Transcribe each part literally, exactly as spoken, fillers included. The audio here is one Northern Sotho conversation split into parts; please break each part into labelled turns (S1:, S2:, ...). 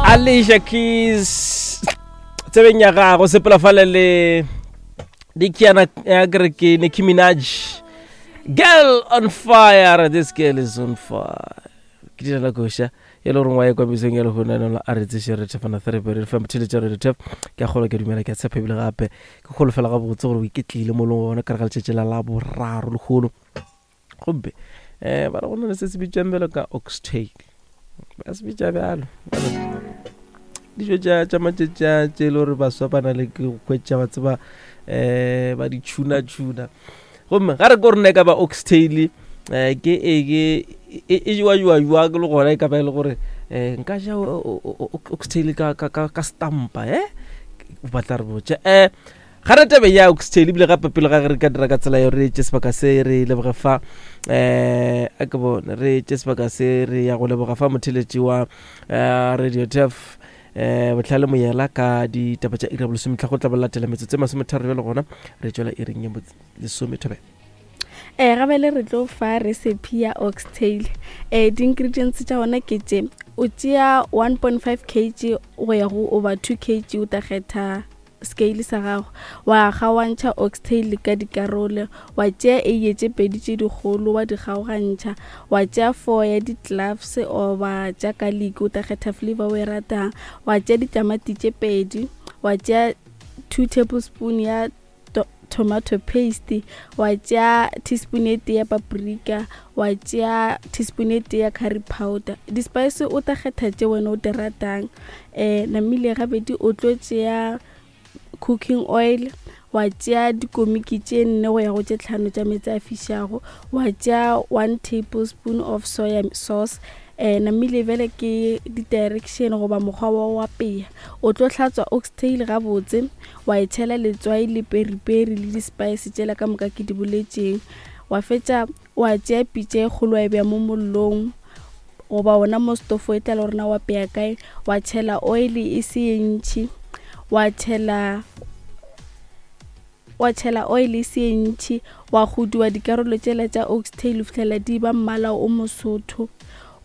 S1: Alicia Keys tsebeng ya gago sepela fale le dikiana ya kere ke Nicki Minaj girl on fire this girl is on fire ke dira la koša e le gore ngwa ye kwa mesong ya lehono a re tseše re thefana therapy re fa motheletša re tef ke a kgolo ke dumela ke a tshepa ebile gape ke kgolo fela gabotse gore o iketlile mo leng gona ka re ga letšatši la la boraro lekgolo gomme um ba re go na le se se bitswang bjalo ka oxtail ba se bitša bjalo dijo tša tša matšatši a tše e le gore baswa ba na le ke go hwetša ba tseba um ba di tšhuna-tšhuna gomme ga re ko rena e ka ba oxtail um ke e ke e e jewa jewa jwang le gona e ka ba e le gore um nka ja oxtail ka ka ka ka stampa eh o batla re botša um ga re tebe ya oxtail ebile gape pele ga ge re ka dira ka tsela yo re tše sebaka se re leboge fa um a ke bone re tše sebaka se re ya go leboga fa motheletši wa um radio tef um botlhale moyela ka ditaba tša iri ya bolesometlha go tla ba latela metsotso e masometharo bjale gona re tšwela iring ya lesomethobela
S2: um gabele re tlo fa recipe ya oxtail um di-ingredients tša gona ke tše o tšea one point five kg go ya go over two kg o tla kgetha scale sa gago wa kgaoantšha oxtail ka dikarolo wa tšea eiye tše pedi tše dikgolo wa di kgaogantšha wa tšea four ya di-cloves oba tša garlic o tla kgetha flavor o e ratang wa tšea ditamati tše pedi wa tšea two tablespoon ya tomato paste wa tšea teaspoon e tee ya paprika wa tšea teaspoon e tee ya curry powder di-spice o tla kgetha tše wena o di ratang um namile gabedi o tlo tšea cooking oil wa tšea dikomiki tše nne go ya go tše tlhano tša meetse a fišago wa tšea one tablespoon of soya sauce um namile bjale ke di-direction goba mokgwa wa go apea o tlo hlatswa oxtail gabotse wa e tšhela letswai le periperi le di-spice tšela ka moka ke di boletšeng wa fetša wa tšea pitša e kgolo wa e beya mo mollong goba ona mo stofo e tla le gorena wa apea kae wa tšhela oil e se ye ntšhi wa tšhela wa tšhela oil e se ye ntšhi wa godiwa dikarolo tšela tša oxtail fitlhela di ba mmala o mosotho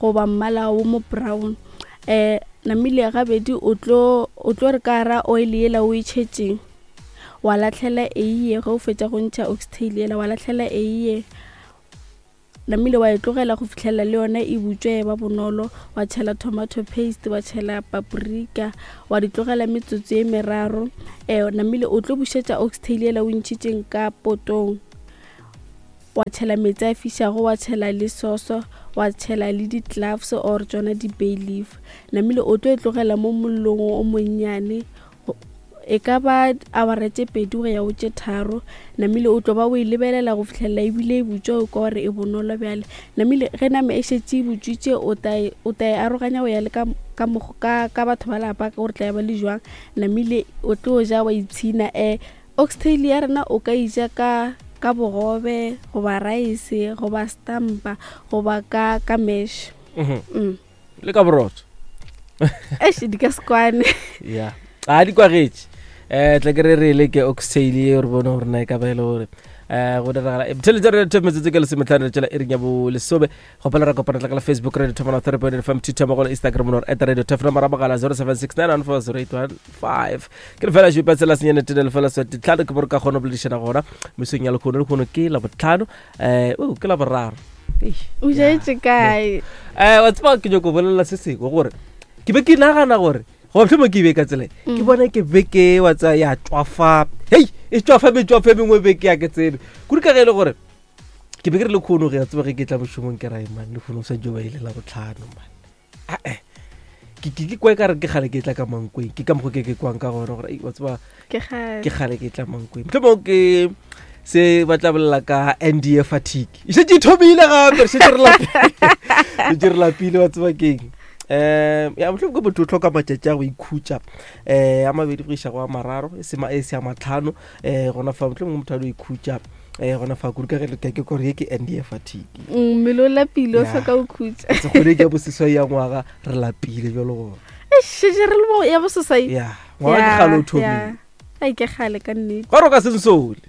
S2: goba mmala o mo brown um namile gabedi o tlo o tlo re ka gara oil yela o e tšhetšeng wa latlhela eiye ge o fetša go ntšha oxtail yela wa latlhela eiye namile wa e tlogela go fitlhela le yona e butswe e ba bonolo wa tšhela tomato paste wa tšhela paprika wa di tlogela metsotso e meraro um namile o tlo bušetša oxtail yela o ntšhitšeng ka potong wa tšhela meetse a fišago wa tšhela le soso wa tšhela le di-cloves or tšona di-bay leaf namile o tlo e tlogela mo mollong o monnyane e ka ba awara tše pedi go ya go tše tharo namile o tlo ba o e lebelela go fitlhelela ebile e butswa o kwa gore e bonolo bjale namile ge nama e šetše e butswitše o tla e, o tla e aroganya go ya le ka, ka, ka, ka batho ba lapa gore tla ba le jwang namile o tlo ja wa ipshina um oxtail ya rena o ka ija ka ka bogobe goba rice goba stampa goba ka ka mash mm.
S1: le ka borotho
S2: eish di ka se kwane
S1: ya a di kwagetše um tla ke re re le ke oxtail ye re bone gore na e ka ba e le gore um go diragala theletša re the metsotso ke lesometlhano re tšela iring ya bolesome gopela ra kopana tla ka la facebook radio thomana three point fm twitter mo go la instagram nor at radio tef nomoro mogala zero seven six nine one four zero eight one five ke lefela šupa tsela senyane tene lefela swati tlhano ke bore ka kgona go boledišana gona mesong ya lekgono lekgono ke la botlhano um ke la boraro
S2: o jaetse kae
S1: um wa tseba ke nyako bolelela se sengwe gore ke be ke nagana gore goba mohlomong ke be ka tsela ke bona ke beke wa tsaya ya tswafa hei e tswafa metswafa e mengwe beke ya ke tsebe kudu ka ge e le gore ke be ke re le kgono ge ya tseba ge ke tla mošomong ke rae man le kgono o sa jo ba ile la botlhano man ae ke ke ke kwa ka re ke gale ke tla ka mankweng ke ka mokgwa ke ke kwang ka gona gore wa tseba
S2: ke gale
S1: ke gale ke tla mankweng mohlomong ke se ba tla bolela ka N D A fatigue e šetše e thomile gape re šetše re lapile šetše re lapile wa tseba keng um ya mohlomong ke motho o tlhoka matšatši a go ikhutša um a mabedi go iša go a mararo e se e se a matlhano um gona fa mohlomong motho a lo ikhutša um gona fa kudu ka ge ke ke kore ye ke N D A fatigue
S2: mmele o lapile o
S1: Ya.
S2: hloka go khutša
S1: se kgwedi ke ya boseswai ya ngwaga re lapile jalo gona
S2: šetše re le mo ya boseswai
S1: ya ngwaga ke gale o thomile
S2: ai ke gale ka nnete
S1: gore o ka se nsole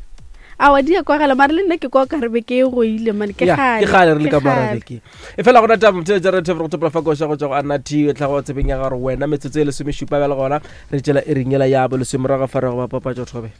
S2: Awa, di ya kwagala, mare le nna ke kwa ka re be ke e goile mane, ke
S1: Ya,
S2: kgale,
S1: ke kgale re le
S2: ke
S1: ka
S2: kgale.
S1: marabeke e fela gona taba motšhele tša rethe go topola fa koša go tšwa go anna t e tla go tsebeng ya gore wena metsotso e lesomešupa bjale gona re tšela e ringela ya bo lesomorago fa re go ba papatšo thobe.